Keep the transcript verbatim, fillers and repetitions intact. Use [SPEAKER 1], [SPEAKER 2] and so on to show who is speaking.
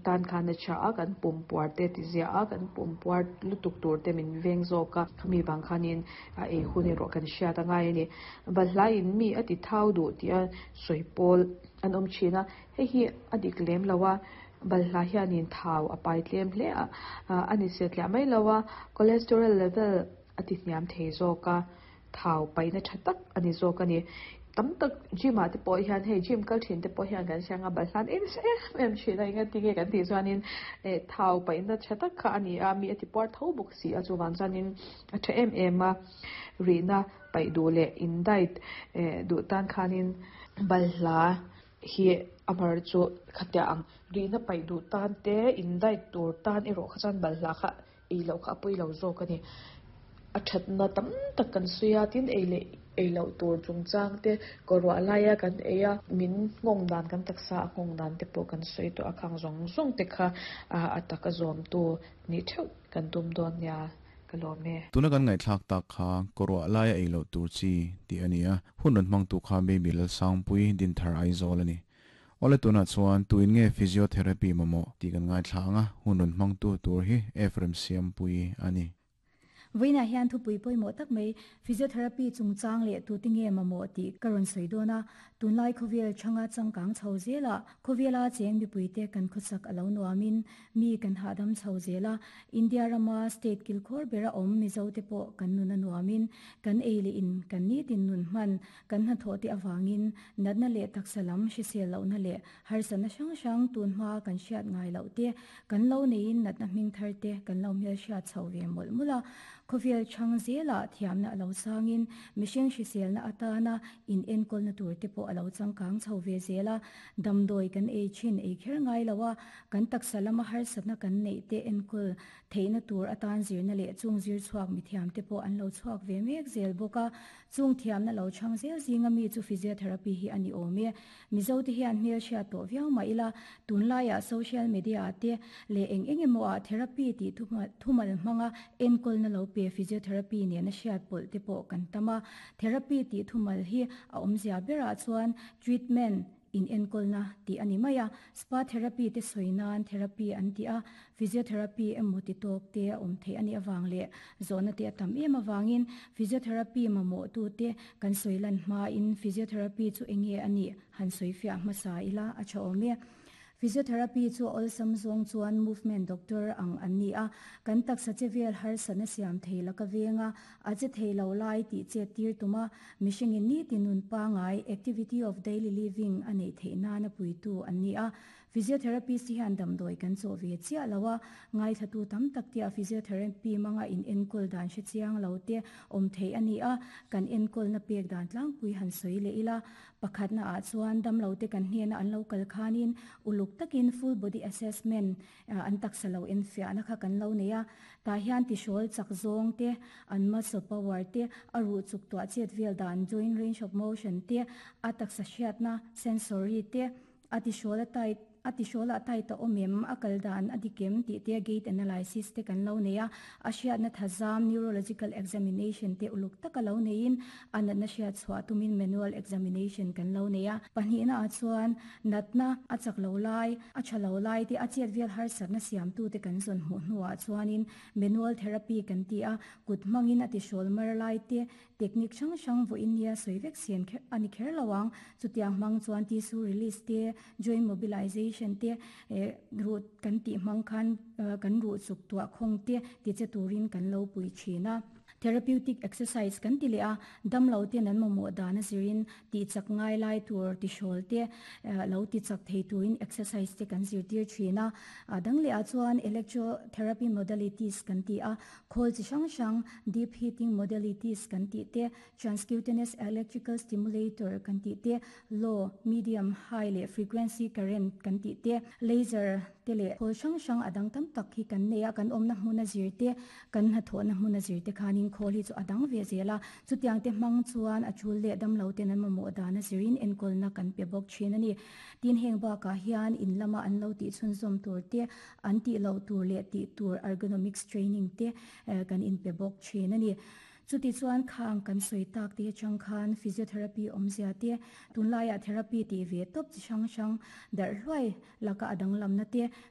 [SPEAKER 1] Tan khan a tha a kan pum puar te ti zia a kan pum puar lutuk tur te min veng zawk a khami vang khanin a ei hun erawh kan hriat a ngai ani balhla in mi a ti thau duh tih a sawi pawl an awm thin a hei hi a dik lem lo a balhla hianin thau a pai tlem hle a ani satliah mai lo a cholesterol level a ti hniam thei zawk a thau paihna tha tak ani zawk ani tam tak gym ah te pawh hian hei gym kal thin te pawh hian kan siang a balhla an ei nasa em em thin a enga tinge kan tih chuanin eh thau paihna tha tak kha ani a mi a ti puar tho bawk si a chuvang chuanin a tha em em a rihna paih duh leh in diet eh duh tan khanin balhla hi a mar chu khatia ang rihna paih duh tan te in diet tur tan erawh kha chuan balhla kha ei loh kha a pawi lo zawk ani a thatna tam tak kan sawi a tin ei leh ei loh tur chungchang te kawr laia kan ei a min nghawng dan kan taksa a nghawng dan te pawh kan sawi tawh a khang zawng zawng te kha a taka zawm tu ni theuh kan tum dawn nia ka lawm e.
[SPEAKER 2] Tuna kan ngai thlak tak kha korwa laia ei loh tur chi ti ania hun ran hmang tu kha baby lal sangpui din thar Aizawl ani. Ole tuna chuan tuin nge physiotherapy mamo ti kan ngai thlanga hun ran hmang tu tur hi Ephraim Siampui ani.
[SPEAKER 3] Voina hian thu pui pui mo tak mai physiotherapy chungchang le tu tinge mamo ti karon soidona tunlai khovel changa changkang chho zela khovela cheng mi puite kan khosak alo nuamin mi kan hadam chho zela India rama state kilkhor bera om Mizo te po kan nuna nuamin kan eile in kan ni tin nun man kan na tho te awangin natna le taksalam hrisel lo na le harsana sang sang tun ma kan hriat ngai lo te kan lo nein natna hming thar te kan lo mel hriat chho ve mul mula khovel chang zela thiamna alo sangin mihring hriselna atana in enkol na tur te pawh alo changkang chho ve zela damdoi kan ei chin ei kher ngai lowa kan taksalama harsatna kan nei te enkol theina tur atan zirna le chung zir chuak mi thiam te pawh an lo chuak ve mek zel bawka chung thiamna lo chang zel zinga mi chu physiotherapy hi ani awm e Mizo te hian hmel hriat tawh viau mai ila tunlaiah social media te le eng eng emaw ah therapy tih thumal hmanga enkol na lo pe physiotherapy nena hriat pawlh te pawh kan tama therapy tih thumal hi a awmzia berah chuan treatment in enkol na ti ani maia spa therapy te soinan therapy an ti a physiotherapy emaw ti tawk te a awm thei ani awang le zona te atam em awangin physiotherapy mamo tu te kan soilan hma in physiotherapy chu enge ani han soifia hmasa ila a tha awm e. Physiotherapy chu awlsam zawng chuan movement doctor ang an ni a kan taksa chevel har sana siam theila ka venga a che theilo lai ti che tir tuma mihring in ni tinun pa ngai activity of daily living anei theina na puitu an ni a. Physiotherapist hian damdoi kan chaw ve chia lawa ngai thatu tam tak tia physiotherapy manga in enkol dan hre chiang lo te awm thei ani a kan enkol na pek dan tlangpui han soi le ila pakhat na ah chuan dam lo te kan hnena an lo kal khanin uluk takin full body assessment an taksa lo en fia na kha kan lo neia ta hian ti shawl chak zawng te an muscle power te aru chuk to chet vel dan joint range of motion te a taksa hriat na sensory te ati shawl tight ati shola tai ta omem akal dan adikem ti te gait analysis te kan lo neia a hriat na thazam neurological examination te uluk taka lo nein anat na hriat chhuah tumin manual examination kan lo neia pahnih na a chuan natna a chak lo lai a tha lo lai te a chet vel har sat na siam tu te kan zon hmu hnuah chuanin manual therapy kan ti a kut mangin ati shol mar lai te technique chang chang vo India soivek sian kher ani kher lawang chutiang mang chuan tissue release te joint mobilization te root kan ti mang khan kan ru chuk tua khong te ti che turin kan lo pui thina. Therapeutic exercise kan ti le a dam lo te nan momo dana zirin ti chak ngai lai tur ti shol te lo ti chak thei turin exercise te kan zir tir thina dang le a chuan electrotherapy modalities kan ti a khol chi sang sang deep heating modalities kan ti te transcutaneous electrical stimulator kan ti te low medium high le frequency current kan ti te laser te le khol sang sang adang tam tak hi kan neya kan omna hmuna zir te kan ha thona hmuna zir te khanin khol hi chu adang ve zela chutiang te mang chuan a chul le dam lo te nan mamo dana zirin enkol na kan pe bok thin ani tin heng ba ka hian in lama an lo ti chun zom tur te an ti lo tur le ti tur ergonomics training te kan in pe bok thin ani chuti chuan khang kan soi tak te chang khan physiotherapy omzia te tunlaia therapy ti ve top chi sang sang dar hluai laka adang lam na te.